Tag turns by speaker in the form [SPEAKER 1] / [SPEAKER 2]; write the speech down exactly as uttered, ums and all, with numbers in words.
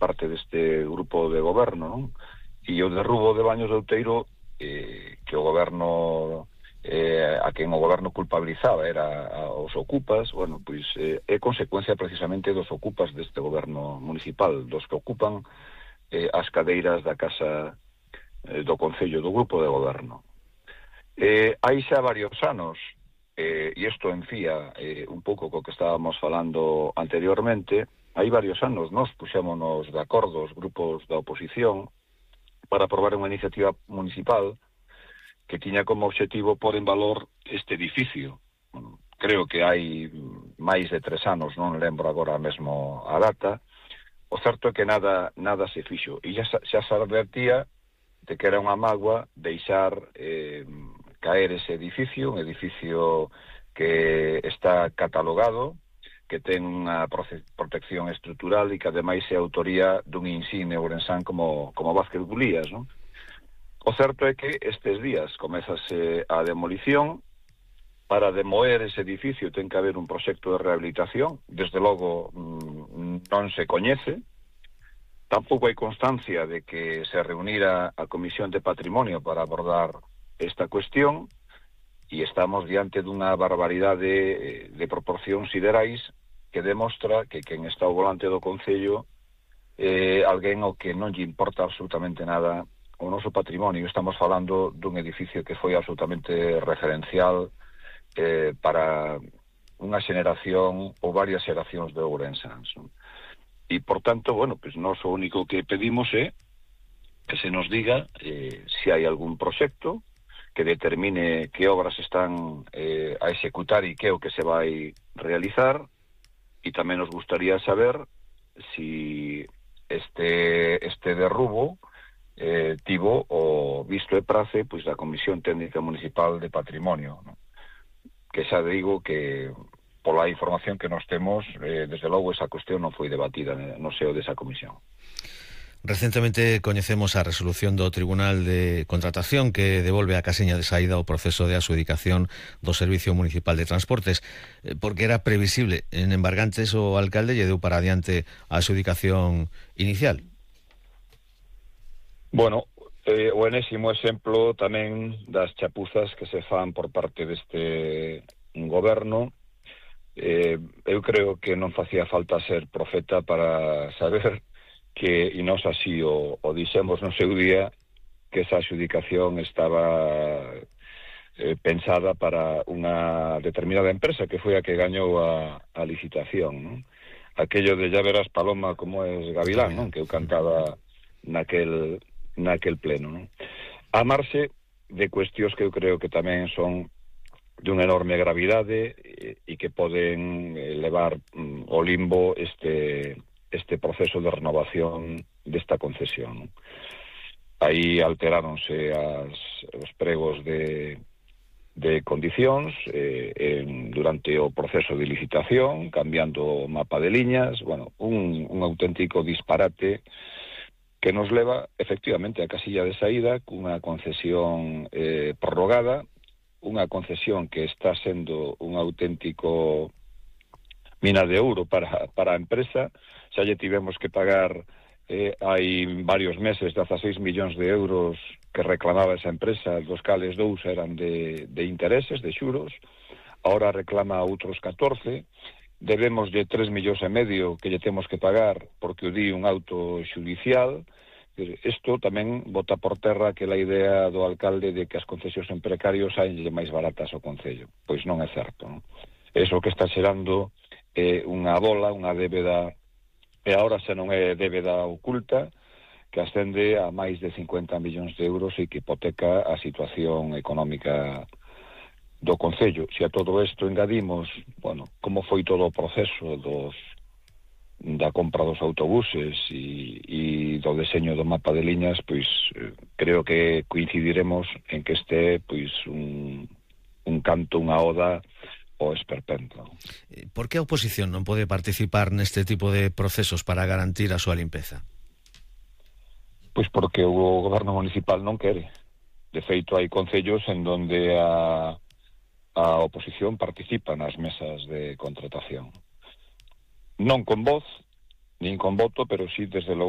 [SPEAKER 1] parte deste grupo de goberno, non? E o derrubo de Baños de Outeiro, eh, que o goberno, eh, a quen o goberno culpabilizaba era aos ocupas, bueno, pois eh, é consecuencia precisamente dos ocupas deste goberno municipal, dos que ocupan eh, as cadeiras da casa eh, do Concello, do grupo de goberno. Eh, hai xa varios anos, eh, e isto enfía eh, un pouco co que estábamos falando anteriormente, hai varios anos nos puxémonos de acordo os grupos da oposición para aprobar unha iniciativa municipal que tiña como obxectivo pôr en valor este edificio. Bueno, creo que hai máis de tres anos, non lembro agora mesmo a data. O certo é que nada nada se fixo, e xa, xa se advertía de que era unha mágoa deixar eh, caer ese edificio, un edificio que está catalogado, que ten unha protección estrutural e que ademais é autoría dun insigne ourensán como, como Vázquez Bulías, non? O certo é que estes días comezase a demolición. Para demoer ese edificio ten que haber un proxecto de rehabilitación, desde logo non se coñece. Tampouco hai constancia de que se reunira a Comisión de Patrimonio para abordar esta cuestión, e estamos diante dunha barbaridade de proporcións siderais que demostra que quen está ao volante do Concello é eh, alguén ao que non lle importa absolutamente nada o noso patrimonio. Estamos falando dun edificio que foi absolutamente referencial eh, para unha xeración ou varias xeracións de ourensáns, non? E, por tanto, bueno, pues nós o único que pedimos é que se nos diga eh, se hai algún proxecto que determine que obras están eh, a executar e que é o que se vai realizar, e tamén nos gustaría saber si este, este derrubo eh, tivo o visto e prace pois da Comisión Técnica Municipal de Patrimonio, non? Que xa digo que pola información que nos temos, eh, desde logo esa cuestión non foi debatida no seo desa comisión.
[SPEAKER 2] Recentemente coñecemos a resolución do Tribunal de Contratación que devolve a casiña de saída o proceso de adxudicación do Servicio Municipal de Transportes, porque era previsible en embargantes o alcalde lle deu para adiante a adxudicación inicial.
[SPEAKER 1] Bueno, eh, o enésimo exemplo tamén das chapuzas que se fan por parte deste goberno. Eh, eu creo que non facía falta ser profeta para saber que, e nós así o, o dixemos no seu día, que esa adxudicación estaba eh, pensada para unha determinada empresa que foi a que gañou a, a licitación, non? Aquello de ya verás Paloma como es Gavilán, non? Que eu cantaba naquel naquel pleno, non? A marxe de cuestións que eu creo que tamén son de unha enorme gravidade e, e que poden levar mm, ao limbo este este proceso de renovación desta concesión, non? Aí alteráronse as, os pregos de, de condicións eh, en, durante o proceso de licitación, cambiando o mapa de liñas, bueno, un, un auténtico disparate que nos leva efectivamente a casilla de saída cunha concesión eh, prorrogada, unha concesión que está sendo un auténtico mina de ouro para, para a empresa. Xa lle tivemos que pagar eh, hai varios meses dezaseis millóns de euros que reclamaba esa empresa, dos cales dous eran de, de intereses, de xuros, ahora reclama outros catorce, debemos de tres millóns e medio que lle temos que pagar porque o di un auto xudicial. Isto tamén bota por terra aquela idea do alcalde de que as concesións en precarios saenlle máis baratas ao Concello. Pois non é certo, non? Eso que está xerando é unha bola, unha débeda, e agora xa non é débeda oculta, que ascende a máis de cincuenta millóns de euros e que hipoteca a situación económica do Concello. Se a todo isto engadimos, bueno, como foi todo o proceso dos da compra dos autobuses e, e do deseño do mapa de liñas, pois eh, creo que coincidiremos en que este pois un, un canto, unha oda ao esperpento.
[SPEAKER 2] Por que a oposición non pode participar neste tipo de procesos para garantir a súa limpeza?
[SPEAKER 1] Pois porque o goberno municipal non quere. De feito, hai concellos en donde a, a oposición participa nas mesas de contratación. Non con voz, nin con voto, pero sí, desde logo,